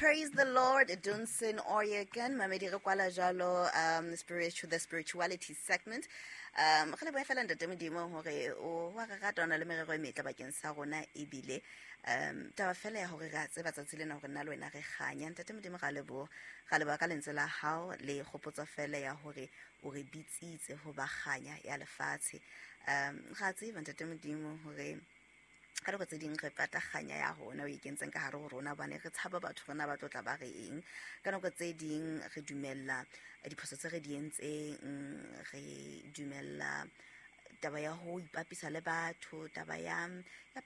Praise the Lord, Dunsin Oyekan, mamedi re kwala jalo spiritual the spirituality segment. Re lebohe fela ntate Modimo hore o wa re rata, o na le merero e metle bakeng sa rona, ebile taba fela ya hore re a tseba tsatsi lena hore nna le wena re kganya. Ntate Modimo, ra leboha, ra leboha ka lentswe la hao le kgopotso fela ya hore o re bitsitse ho ba kganya ya lefatshe. Ra tseba, ntate Modimo, hore ka nako tse ding re pata kganya ya rona o e kentseng ka hare ho rona, hobane re tshaba batho rona ba tlo tla ba re eng. Ka nako tse ding re dumella diphoso tse re di entseng, re dumella taba ya ho ipapisa le batho, taba ya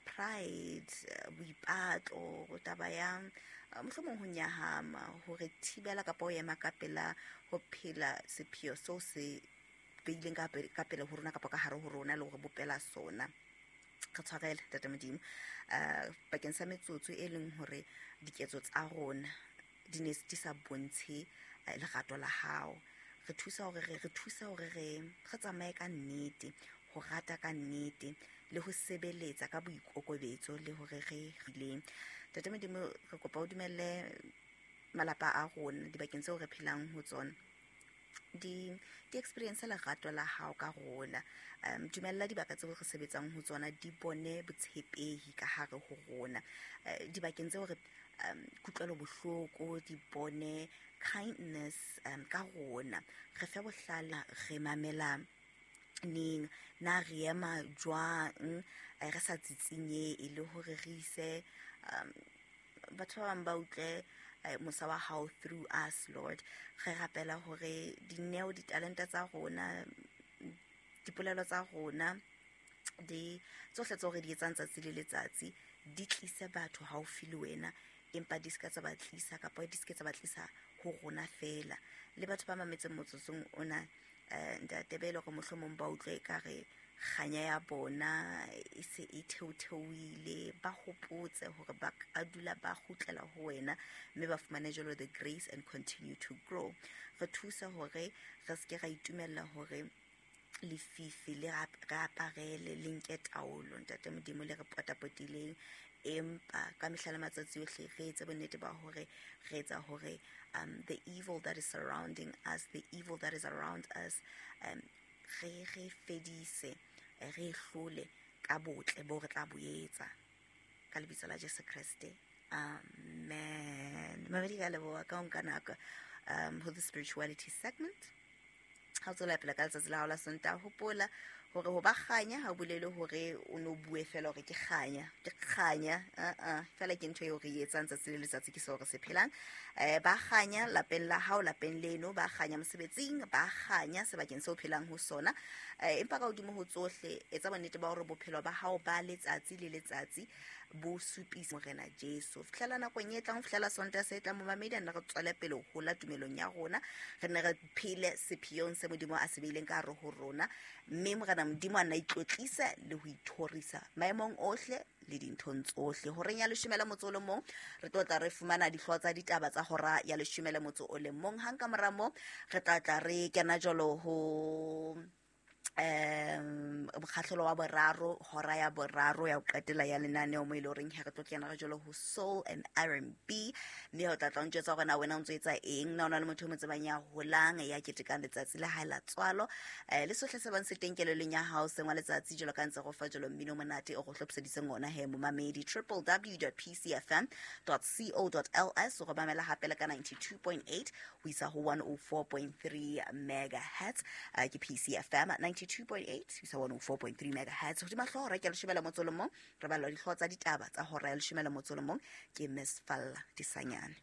pride, boipatlo, taba ya mohlomong ho nyahama, ho re thibela kapa ho ema ka pela ho phela sepheo seo se beileng ka pele ho rona kapa ka hare ho rona le hore bopela sona. Re tshwarele, tate Modimo, bakeng sa metsotso e leng hore diketso tsa rona di ne di sa bontshe lerato la hao. Re thusa hore re thuse hore re tsamaye ka nnete, ho rata ka nnete le ho sebeletsa ka boikokobetso le hore re rileng. Tate Modimo, re kopa o dumelle malapa a rona dibakeng tseo re phelang ho tsona di experience lerato la hao ka rona. Dumella dibaka tseo re sebetsang ho tsona di bone botshepehi ka hare ho rona. Dibakeng tseo re kutlwelo bohloko, di bone kindness ka rona. Re fe bohlale, re mamela neng, na re ema jwang, re sa tsitsinye, le hore re ise batho ba bang ba utlwe mosa wa hao through us. Lord, re rapela hore dineo, ditalente tsa rona, dipolelo tsa rona, di tsohle tseo re di etsang tsatsi le letsatsi di tlise batho haufi le wena, empa di se ka tsa ba tlisa kapa di se ke tsa ba tlisa ho rona fela. Le batho ba mametseng motsotsong ona, ntate, be e le hore mohlomong ba utlwe ekare kganya ya bona e se e theotheoile, ba hopotse hore ba ka dula ba kgutlela ho wena mme ba fumane jalo the grace and continue to grow. Re thuse hore re se ke ra itumella hore lefifi le re aparele, le nke taolo, ntate Modimo, le re potapotileng, empa ka mehla le matsatsi ohle re etse bonnete ba hore re etsa hore the evil that is surrounding us, the evil that is around us, re fedise, re hlole ka botle bo re tla bo etsa ka lebitso la Jesu Kreste, amen. Mamedi, ka leboha ka ho nka nako ho the spirituality segment. Ha o tswela pele ka letsatsi la hao la Sontaha, hopola hore ho ba kganya ha o bolele hore o no bue fela hore ke kganya, ke kganya, aa fela ke ntho eo re e etsang tsatsi le letsatsi, ke seo re se phelang. Ba kganya lapeng la hao, lapeng leno, ba kganya mosebetsing, ba kganya sebakeng seo phelang ho sona. Empa ka hodimo ho tsohle, etsa bonnete ba hore bophelo ba hao ba letsatsi le letsatsi bo supisa Morena Jesu. Fihlela nakong e tlang, ho fihlela Sontaha se tlang, momamedi, a nne re tswele pele ho hola tumelong ya rona, re nne re phele sepheong se Modimo a se beileng ka hare ho rona, mme Morena Modimo a nna itlotlisa le ho ithorisa maemong ohle le dinthong tsohle. Horeng ya 11, re tlo tla re fumana dihlooho tsa ditaba tsa hora ya 11. Hang ka mora moo, re tla tla re kena jalo ho mokgahlelo wa boraro, hora ya boraro ya ho qetela ya lenaneo, mo e le horeng he re tlo kena re jalo ho soul and R&B, mme o tla tla o ntjwetsa hore na wena o ntso etsa eng, na o na le motho o mo tsebang ya holang, ya ketekang letsatsi la hae la tswalo, le sohle se bang se teng kelellong ya hao sengwa letsatsi, jalo ka ntse go fa jalo mmino monate o go hlophiseditseng ona he, momamedi. www.pcfm.co.ls, o go mamela hape le ka 92.8 ho isa ho 104.3 megahertz. Ke PCFM 92.8 ho isa 104.3 megahertz. Hodima hlooho hora ke ya 11, re balelwa dihlooho tsa ditaba tsa hora ya 11 ke Miss Falla Disanyane.